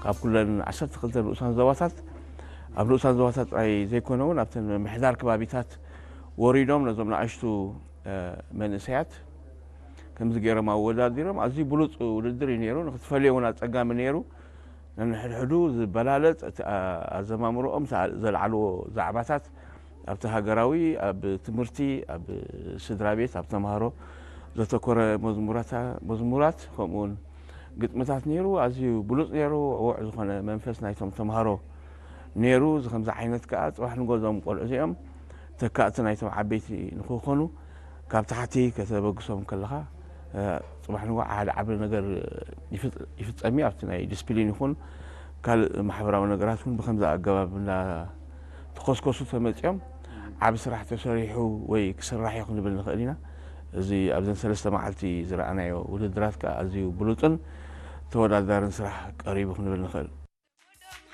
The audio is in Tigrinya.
ኣብ ኩለን ዓሰርተ ክልተ ንኡሳን ዞባታት፣ ኣብ ንኡሳን ዞባታት ጥራይ ዘይኮነ እውን ኣብተን ምሕዳር ከባቢታት ወሪዶም ነዞም ንኣሽቱ መንእሰያት ከምዚ ገይሮም ኣወዳዲሮም። ኣዝዩ ብሉፅ ውድድር እዩ ነይሩ። ንክትፈልዮ እውን ኣፀጋሚ ነይሩ። ነንሕድሕዱ ዝበላለፅ እቲ ኣዘማምሮኦም ዘልዓልዎ ዛዕባታት ኣብቲ ሃገራዊ፣ ኣብ ትምህርቲ፣ ኣብ ስድራ ቤት፣ ኣብ ተምሃሮ ዘተኮረ መዝሙራት፣ ከምኡውን ግጥምታት ነይሩ። ኣዝዩ ብሉፅ ነይሩ። ዕዉዕ ዝኾነ መንፈስ ናይቶም ተምሃሮ ነይሩ። እዚ ከምዚ ዓይነት ከዓ ፅባሕ ንጎ እዞም ቆልዑ እዚኦም ተካእቲ ናይቶም ዓበይቲ ንክኾኑ ካብ ታሕቲ ከተበግሶም ከለኻ፣ እ፣ ፅባሕ ንጎ ሓደ ዓቢ ነገር ይፍፅ-፣ ይፍፀም እዩ። ኣብቲ ናይ ዲስፕሊን ይኹን ካልእ ማሕበራዊ ነገራት እውን ብከምዚ ኣገባብ እናተኾስኮሱ ተመፂኦም ዓቢ ስራሕ ተሰሪሑ ወይ ክስራሕ እዩ ክንብል ንኽእል ኢና። እዚ ኣብዘን ሰለስተ መዓልቲ ዝረኣናዮ ውድድራት ከዓ ኣዝዩ ብሉፅን ተወዳዳርን ስራሕ ቀሪቡ ክንብል ንኽእል።